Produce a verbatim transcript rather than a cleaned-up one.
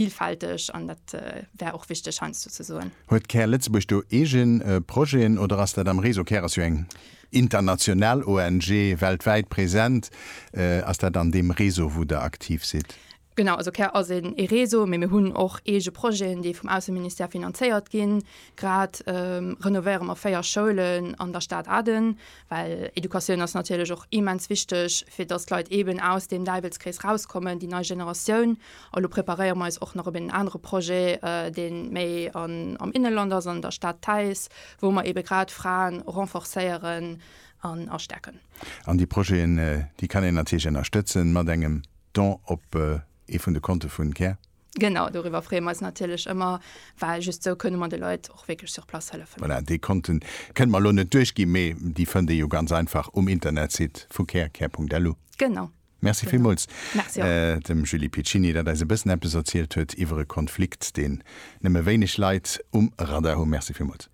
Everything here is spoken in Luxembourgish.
Vielfälteg an dat wär och wichteg heiansdo ze soen. Huet Care Lëtzebuerg do eege Projeten oder ass dat am Réseau? Care ass jo eng international O N G, weltwäit present. Ass dat an deem Réseau, wou Der aktiv sidd? Genau, also Care ass een ee Réseau, mee mir hunn och eege Projeten, déi vum Ausseministère finanzéiert ginn. Grad renovéiere mer véier Schoulen an der Stad Aden, well Educatioun ass natierlech och immens wichteg, fir datt d'Leit eeben aus deem Däiwelskrees rauskommen, déi nei Generatioun. A lo preparéiere mer eis och nach op een anere Projet, dee méi an am Inneland ass, an der Stad Taiz, wou mer eebe grad Fraen renforcéieren an a stäerken. An déi Projeten, déi kann een natierlech ënnerstëtzen mat engem Don op ee vun de Konte vun Care. Genau, doriwwer freeë mer eis natierlech ëmmer, well just esou kënne mer de Leit och wierklech sur place hëllefen. Voilà, déi Konten kënne mer elo net duerchginn, mee déi fënnt ee jo ganz einfach um Internetsite vu Care, care Punkt L U. Genau. Merci villmools Merci och. Dem Julie Piccini, dat eis e bëssen eppes erzielt huet iwwer e Konflikt, deen nëmme wéineg Leit um Radar hunn. Merci villmools.